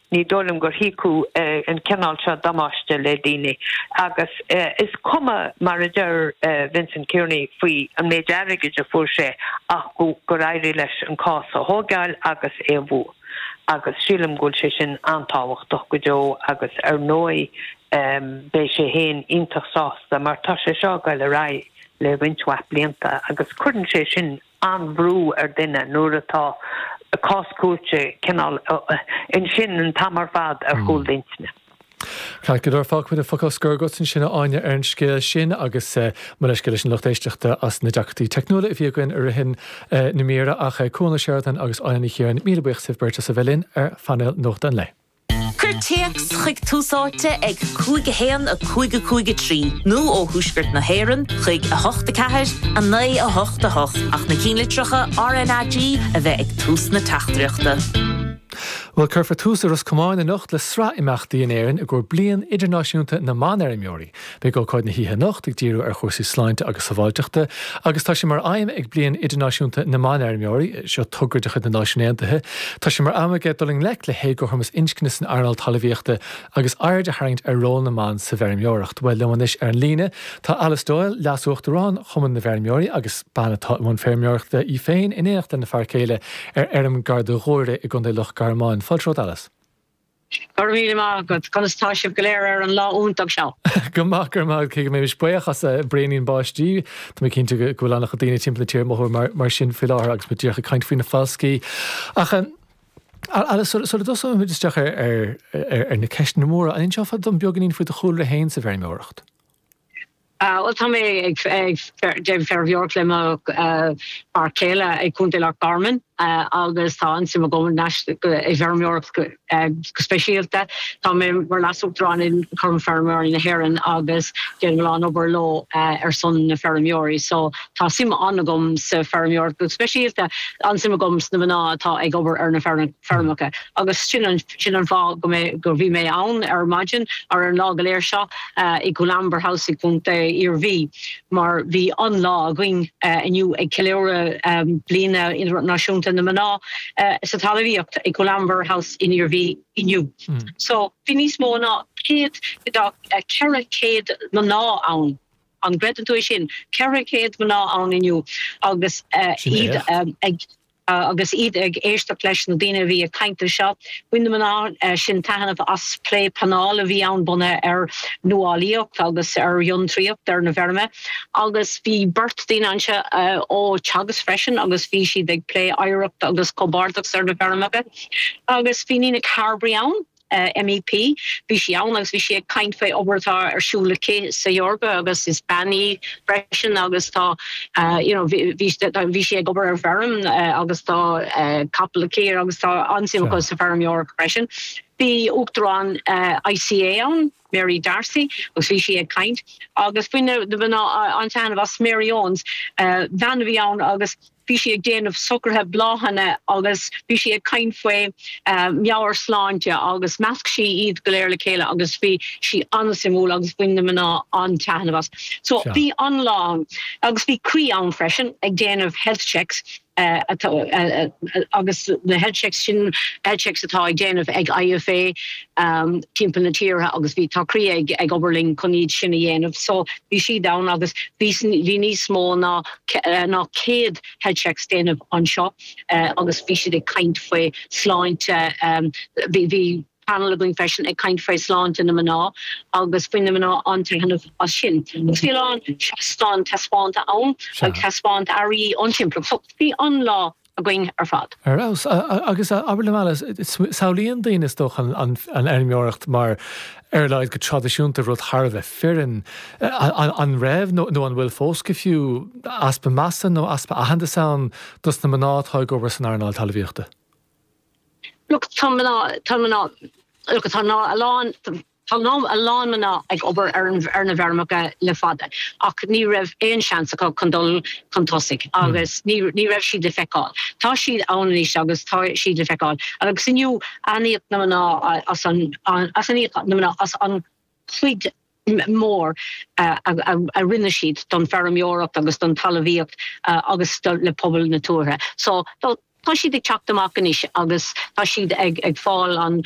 Ní dóigh liom gur thiocfadh an cineál seo damáiste le daoine agus is cuma mar a deir Vincent Kearney faoi an méid airgid a fuair sé ach gur éirigh leis an cás a thógáil agus é a bhua. Agus sílim go bhfuil sé sin an-tábhachtach go deo agus ar ndóigh beidh sé féin iontach sásta mar tá sé seo ag goil ar aghaidh le roinnt mhaith blianta agus cuireann sé sin an-bhrú ar duine nuair atá cás cúirte cineál ansin an t-am ar fad ar chúl d'intinne. Ceart go leor, fágfaimid an focal scoir agat ansin a Áine ar an scéal sin agus mo leithscéal leis an lucht éisteachta as na deacrachtaí teicniúla a bhí againn i rith na míre ach Cuan Ó Seireadáin agus Áine Ní Chiaráin, míle buíochas libh beirt as a bheith linn ar phainéal Nuachta an Lae. Cuir téacs chuig Tús Áite ag 5 1 5 5 3 nó ó thuaisceart na hÉireann chuig 8 4 9 8 8 ach na cinnlitreacha RnaG a bheith ag tús na teachtaireachta. Bhuel, cuirfear tús i Ros Comáin anocht le sraith imeachtaí in Éirinn i gcomhair Bliain Idirnáisiúnta na mBanfheirmeoirí. Beidh ócáid na hoíche anocht ag díriú ar chúrsaí sláinte agus sábháilteachta agus tá sé mar aidhm ag Bliain Idirnáisiúnta na mBanfheirmeoirí, seo togra de chuid na Náisiún Aontaithe, tá sé mar aidhm aige dul i ngleic le héagothromas inscne san earnáil talmhaíochta agus aird a tharraingt ar ról na mban sa bhfeirmeoireacht. Bhuel, liom anois ar an líne tá Alice Doyle, Leas-Uachtarán Chumann na bhFeirmeoirí agus bean atá i mbun feirmeoireachta í féin in éineacht lena fear céile ar fheirm gar do Ghuaire i gContae Loch Garman. Fáilte romhat Alice. Go raibh míle maith agat. Conas tá sibh go léir ar an lá iontach seo? Go maith, go raibh maith agat. Cé go mbeimis buíoch as braoinín báistí, tá mé cinnte go bhfuil an-chuid daoine timpeall na tíre ag mothú mar sin faoi láthair agus muid díreach ag caint faoi na falscaí. Ach Alice, sula dtosóimid isteach ar na ceisteanna móra, an inseofá dom beagáinín faoi do chúlra féin sa bhfeirmeoireacht? Bhuel, tá mé ag déanamh feirmeoireacht le mo fhear céile i gContae Loch Garman agus tá an-suim agam i bhfeirmeoireacht go speisialta. Tá mé mar Leas-Uachtarán in Cumann Feirmeoirí na hÉireann agus déanaim a lán obair leo ar son na feirmeoirí. So tá suim an-agam sa feirmeoireacht go speisialta, an-suim agam sna mná atá ag obair ar na feirmeacha agus sin an sin an fáth go mé go bhí mé ann ar maidin ar an lá go léir seo i Coolamber House i gContae Iarmhí mar bhí an-lá againn inniu ag ceiliúradh Bliain Idirnáisiúnta na Mná sa Talmhaíocht i Coolamber House in Iarmhí inniu. So bhí níos mó ná 100 400 mná ann. An gcreideann tú é sin? 400 mná ann inniu agus iad ag Agus iad ag éisteacht leis na daoine a bhí ag caint anseo, bhain na mná sin taitneamh as plé painéil a bhí ann bunaithe ar nuálaíocht agus ar fhiontraíocht ar na bhfeirme. Agus bhí beirt daoine anseo ó Teagasc freisin agus bhí siad ag plé oidhreacht agus comhghairdeachas ar na feirmeacha. Agus bhí Nina Carberry ann. MEP. Bhí sí ann agus bhí sí ag caint faoi obair atá ar siúl aici sa Eoraip agus is bean í freisin agus tá you know bhí bhí sí ag obair ar bhfeirm agus tá capall aici agus tá an-suim acu sa bhfeirmeoireacht freisin. Bhí Uachtarán ICA ann, Mary D'Arcy, agus bhí sí ag caint agus bhain na mná an-taitneamh as Mary Owens, bean a bhí ann agus Bhí sí ag déanamh socruithe bláthanna agus bhí sí ag caint faoi meabhairshláinte agus mheasc sí iad go léir le chéile agus bhí sí an-suimiúil agus bhain na mná an-taitneamh as. So bhí an-lá ann agus bhí Croí ann freisin ag déanamh health checks agus na health checks sin health checks atá ag déanamh ag IFA timpeall na tíre agus bhí tá Croí ag ag obair linn chun iad sin a dhéanamh. So bhí siad ann agus bhí bhí níos mó ná ná 100 health checks déanamh anseo agus bhí siad ag caint faoi sláinte, bhí panel againn freisin ag caint faoi sláinte na mná agus bhain na mná an-taitneamh as sin. Agus bhí a lán seastán taispeánta ann ag taispeáint earraí ón timpeallacht. So bhí an-lá againn ar fad. Ar fheabhas. Agus abair liom Alice, samhlaíonn daoine is dócha an fheirmeoireacht mar, ar a laghad go traidisiúnta, rud thar a bheith fireann. An raibh, nó an bhfuil fós go fiú, easpa measa nó easpa aitheantais ann dos na mná atá ag obair san earnáil talmhaíochta? Look, tá mná, tá mná, look, tá a lán, Tá a lán mná ag obair ar ar na bhfeirmeacha le fada ach ní raibh aon seans acu chun dul chun tosaigh agus ní ní raibh siad le feiceáil. Tá siad ann anois agus tá siad le feiceáil agus inniu aithníodh na mná as an aithníodh na mná as an chuid mór a a rinne siad don feirmeoireacht agus don talmhaíocht agus le pobal na tuaithe. So. Tá siad ag teacht amach anois agus tá siad ag fáil an.